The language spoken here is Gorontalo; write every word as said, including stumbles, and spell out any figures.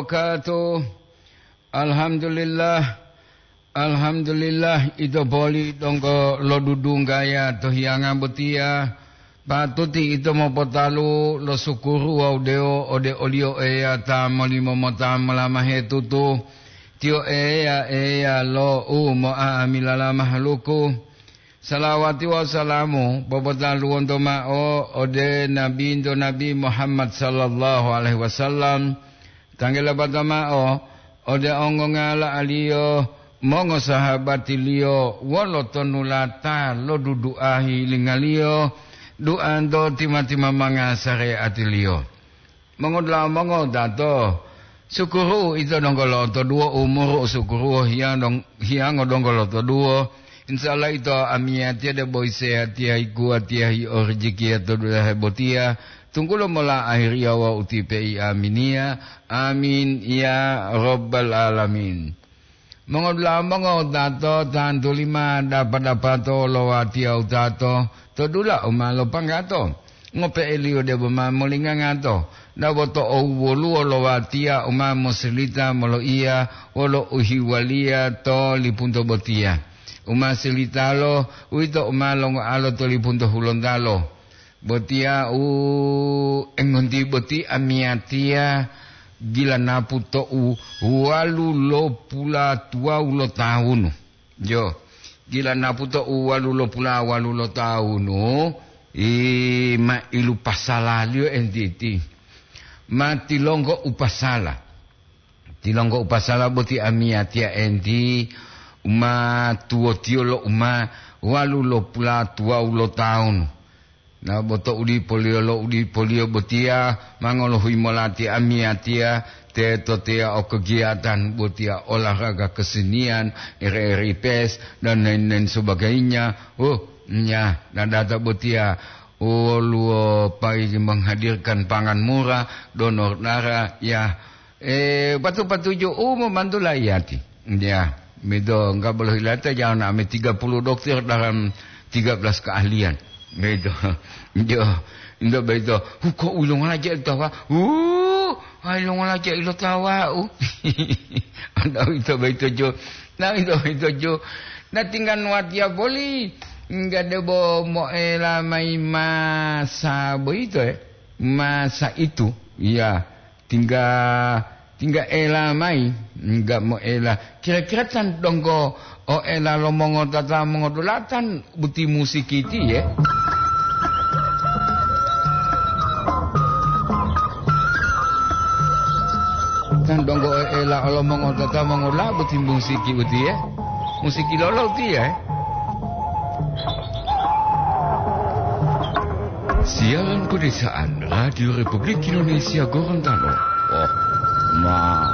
Wabarakatuh. Alhamdulillah. Alhamdulillah, ito poli donggo lodudunggaya to hiyanga botiya. Patuti ito mopotalu lo sukuru wawu dewo ode oliyo Eya ta molimo mota molamahe tutu. Tiyo Eya, Eya lo u mo'a'amilala mahaluku. Salawati wawu salamu popotaluwonto ma'o ode Nabinto Nabi Muhammad sallallahu alaihi wasallam, tanggela bata ma'o ode ongongala'aliyo, mongosahabatiliyo wolo tonulata lo duduahi lingaliyo, duanto tima-timamanga sareatiliyo. Mongodula'a mongodato, sukuru ito donggo lotoduwo umuru, sukuru hiyang dong-, hiyango donggo lotoduwo. Insya Allah ito amiyatiya debo isehatiya, ikuwatiya, hiorijikiya to dulahe botiya, tunggulo mola ahiriya wawu utipe'i aminiya. Amin ya rabbal alamin. Mongodula'a mongotato, tantu lima dapa-dapato lo watiya utato to dula u ma lopanggato, ngope'eliyo debo ma molingangato, dabo to owoluwo lo watiya u ma mosilita moloiya wolo uhiwaliya to lipunto botiya. U ma silitalo, uwito u ma longoalo to lipunto hulontalo. Botiya u engonti boti amiyatiya gila napu to'u walu lopula tuwawu lo tawunu. Jo, gila napu to'u walu lopula walu lo tawunu, i ma ilu pasalaliyo entiti. Ma tilonggo u pasala. Tilonggo u pasala boti amiyatiya enti, u ma tuwotiyo lo u ma walu lopula tuwawu lo tawunu. Na bo to udipoliyo lo udipoliyo botiya, ma ngolohuyi molati amiyatiya, teto teya o kegiatan botiya, olahraga kesenian, R R I P S, dan lain-lain sebagainya. Oh, nya, na data botiya, woluwo pai menghadirkan pangan murah, donor darah, ya, Eh, patu-patuju u momantu laiyati. Ya, mido enggak bolo hilata jangan ame tiga puluh dokter dalam tiga belas keahlian. Mido. Jo, indo beito. Huko ulung aja tawa. Uh, ai long aja ilo tawa u. Anda itu beito jo. Nah, itu beito jo. Nah, tinggal nuatia boli. Enggak debo moela mai masa boito, eh. Masa itu. Ya. Tingga, tingga ela mayi, enggak moela. Kira-kira tan donggo o ela lo mongotata mongodulatan buti musiki tiye? Tan donggo o ela lo mongotata mongola buti musiki utiye? Musiki lolo utiye? Siaran pedesaan Radio Republik Indonesia Gorontalo. Oh, ma.